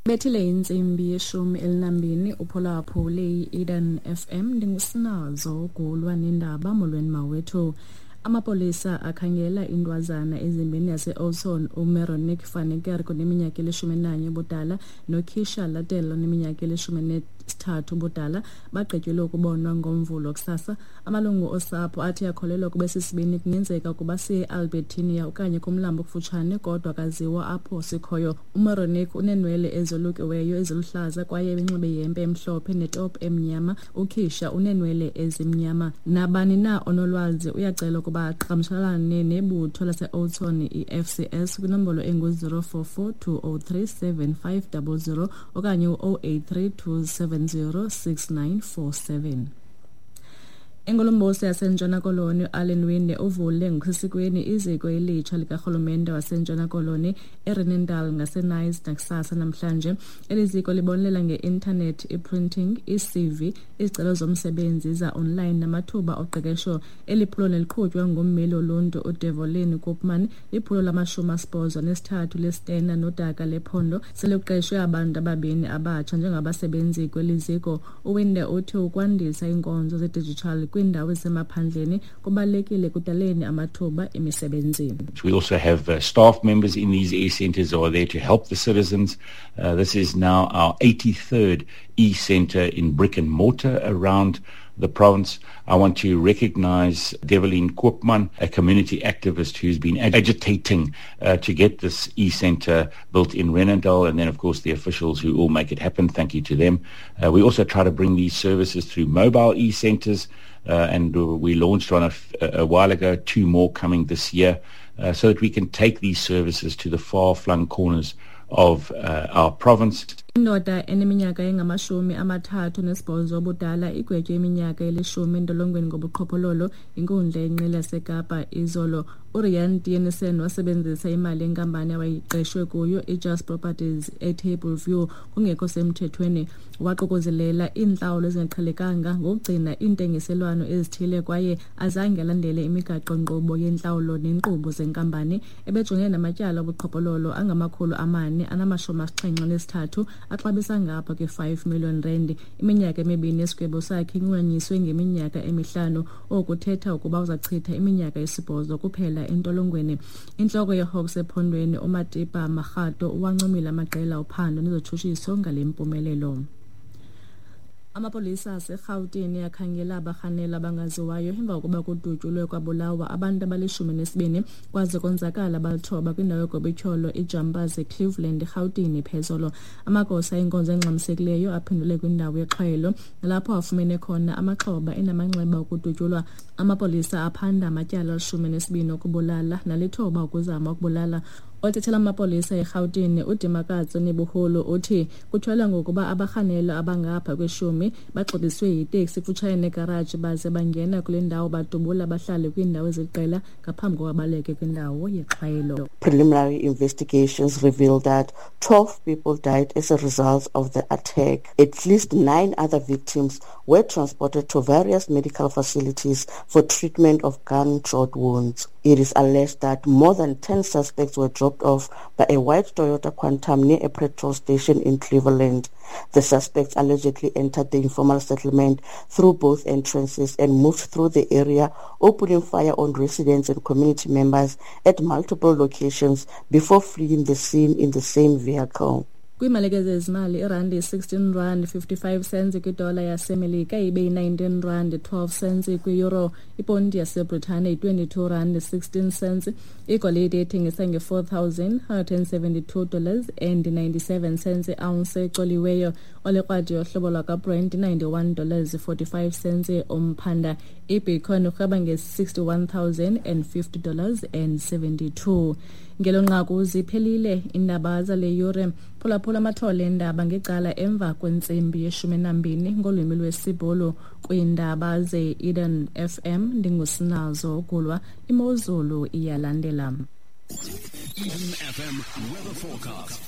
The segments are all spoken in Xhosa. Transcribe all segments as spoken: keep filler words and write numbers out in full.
Bethile intsimbi yeshumi elinambini uphulaphule i-Eden F M. Ndingusinazo Gulwa nendaba. Molweni mawethu. Amapolisa akhangela intwazana ezimbini yase-Oudtshoorn, uMeronique Faneker oneminyaka elishumi nanye ubudala noKisha Latel oneminyaka elishumi nesithathu ubudala, bagqityelwe ukubonwa ngoMvulo kusasa. Amalungu osapho athi akholelwa ukuba sisibini kungenzeka ukuba siye e-Albertinia okanye kumlambo okufutshane, kodwa akaziwa apho sikhoyo. UMeronique uneenwele ezolukiweyo eziluhlaza kwaye ebenxibe ihempe emhlophe netop emnyama. UKisha uneenwele ezimnyama. Nabani na onolwazi uyacela ukuba aqhagamshelane nebutho lase-Oudtshoorn i-F C S kwinombolo engu-zero four four two oh three seven five double zero okanye u-oh eight three two seven zero six nine four seven. Ingulumbuso yaseNtshona Koloni uAllan Winde uvule ngokusesikweni iziko elitsha likarhulumente waseNtshona Koloni eRenendal ngaseNice nakusasa namhlanje. Eli ziko libonelela nge-intanethi, i-printing, i-C V, izicelo zomsebenzi za-online namathuba oqeqesho. Eli phulo neliqhutywa ngummeli woluntu uDevolin Koopman, liphulo lamashumi asibhozo nesithathu lesitena nodaka lephondo. Sele kuqeshwe abantu ababini abatsha njengabasebenzi kweli ziko. UWinde uthi ukwandisa iinkonzo zedijithali kwiindawo ezisemaphandleni kubalulekile ekudaleni amathuba emisebenzi. We also have uh, staff members in these e-centers who are there to help the citizens. Uh, this is now our eighty-third e-center in brick and mortar around the province. I want to recognize Develine Koopman, a community activist who's been agitating uh, to get this e-center built in Renendal, and then, of course, the officials who all make it happen. Thank you to them. Uh, we also try to bring these services through mobile e-centers, uh, and we launched one a, f- a while ago, two more coming this year, uh, so that we can take these services to the far-flung corners of uh, our province. Indoda eneminyaka engamashumi amathathu nesibhozo obudala igwetywe iminyaka elishumi entolongweni ngobuqhophololo inkundla yenqila yaseKapa izolo. URian Tienesen wasebenzisa imali yenkampani awayiqeshwe kuyo iJust Properties eTable View kungekho semthethweni. Waququzelela iintlawulo ezingaqhelekanga ngokugcina iintengiselwano ezithile kwaye azange alandele imigaqo-nkqubo yentlawulo neenkqubo zenkampani. Ebejongene namatyala obuqhophololo angamakhulu amane anamashumi asixhenxe nesithathu axabisa ngapha kwe-five million rand. Iminyaka emibini yesigwebo sakhe inqunyanyiswe ngeminyaka emihlanu, okuthetha ukuba uzachitha iminyaka esibhozo kuphela entolongweni. Intloko yeHawks ephondweni uMatipa Makgato uwancomile amaqela ophando nezotshutshiso ngale mpumelelo. Amapolisa aseRhawutini akhangela abarhanela abangaziwayo emva kokuba kudutyulwe kwabulawa abantu abalishumi nesibini kwaze konzakala abalithoba kwindawo yogobityholo iJumpers eCleveland, eRhawutini phezolo. Amagosa enkonzo engxamisekileyo aphendule kwindawo yexhwayelo nalapho afumene khona amaxhoba enamanxeba okudutyulwa. Amapolisa aphanda amatyala alishumi nesibini okubulala nalithoba ukuzama ukubulala. Othethela amapolisa eRhawutini uDimakatso Nebuhulu uthi kutyholwa ngokuba abarhanelwa abangapha kweshumi baxhobiswe yiteksi kufutshane negaraji baze bangena kule ndawo badubula abahlali kwiindawo eziliqela ngaphambi kokuba baleke kwindawo yexhwayelo. Preliminary investigations revealed that twelve people died as a result of the attack. At least nine other victims were transported to various medical facilities for treatment of gunshot wounds. It is alleged that more than ten suspects were dropped off by a white Toyota Quantum near a petrol station in Cleveland. The suspects allegedly entered the informal settlement through both entrances and moved through the area, opening fire on residents and community members at multiple locations before fleeing the scene in the same vehicle. Kwiimalike zezimali, irandi sixteen rand fifty-five cents kwidola yaseMelika ibe yi-nineteen rand twelve cents kwi-euro. Iponti yaseBritane yi-twenty-two rand sixteen cents. Igolide ethengisa nge-four thousand hundred and seventy-two dollars and ninety-seven cents i-ounce ecoliweyo. Olekrwada yohlobo lwakwaBrent ninety-one dollars forty-five cents umphanda. Ibitcoin urhweba nge-sixty-one thousand and fifty dollars and seventy-two. Ngelo nqaku ziphelile iindaba zale yure. Phulaphula amathole eendaba ngecala emva kwentsimbi yeshumi nambini ngolwimi lwesiBhulu kwiindaba ze-Eden F M. Ndingusinazo Gulwa. Imozulu iyalandela. Eden F M weather forecast.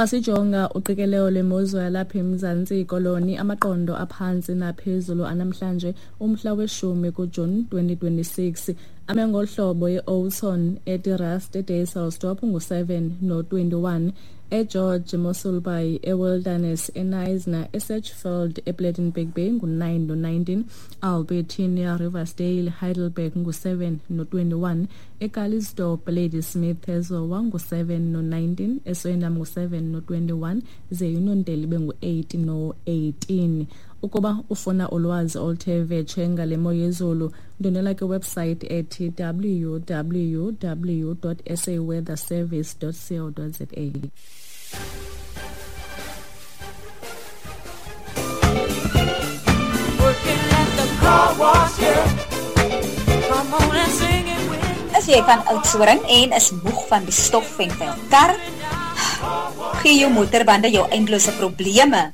Asijonga uqikelelo lwemozulu yalapha eMzantsi Koloni, amaqondo aphantsi naphezulu anamhlanje umhla weshumi kuJuni twenty twenty-six. Ame ngohlobo e-Oudtshoorn, eTerrace, eDysselsdorp ngu-seven no-twenty-one, eGeorge Mossel Bay, eWilderness, eKnysna, eSedgefield, ePlettenberg Bay ngu-nine no-nineteen, Albertinia, Riversdale, Heidelberg ngu-seven no-twenty-one, eCalitzdorp, Ladysmith, eZowa ngu-seven no-nineteen, eSwendam ngu-seven no-twenty-one, ze iNonteli ibe ngu-eight no-eighteen. Ukuba ufuna ulwazi oluthe vetshe ngale mo yezulu, ndwendwela kwiwebsite ethi w w w dot s a weather service dot co dot z a. Is jy van Oudtshoorn en is moeg van die stof en vuil kar? Gee jou motorbande jou eindelose probleme.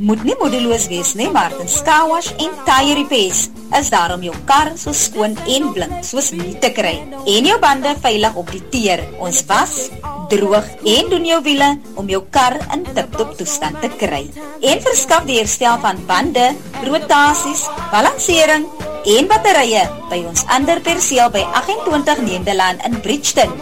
Moet nie moedeloos wees nie, Martin's Car Wash en Tire Repairs is daar om jou kar so skoon en blink soos nie te kry en jou bande veilig op die teer. Ons was, droog en doen jou wiele om jou kar in tip-top toestand te kry. En verskaf die herstel van bande, rotasies, balansering en batterye by ons ander perseel by agt-en-twintig Nederland in Bridgeton.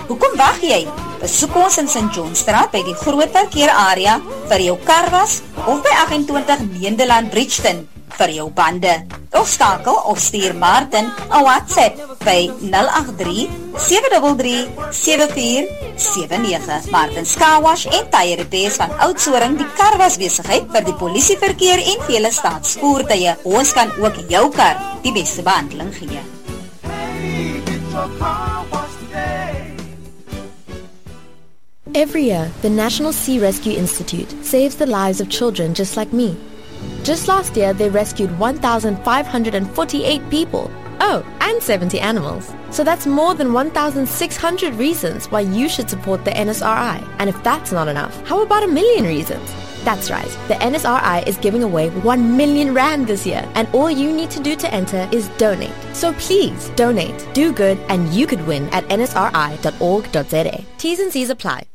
Hoekom wag jy? Besoek ons in Saint Johnstraat by die groot parkeerarea vir jou karwas of by agt-en-twintig Nederland Bridgeton vir jou bande. Of skakel of stuur Martin 'n WhatsApp by nul agt drie, sewe drie drie, sewe vier sewe nege. Martin's Car Wash en Tire Repairs van Oudtshoorn, die karwasbesigheid vir die polisieverkeer en vele staatsvoertuie. Ons kan ook jou kar die beste behandeling gee. Hey, get your car washed today. Every year, the National Sea Rescue Institute saves the lives of children just like me. Just last year, they rescued one thousand five hundred forty-eight people. Oh, and seventy animals. So that's more than one thousand six hundred reasons why you should support the N S R I. And if that's not enough, how about a million reasons? That's right, the N S R I is giving away one million rand this year, and all you need to do to enter is donate. So please, donate, do good, and you could win at N S R I dot org dot Z A. T's and C's apply.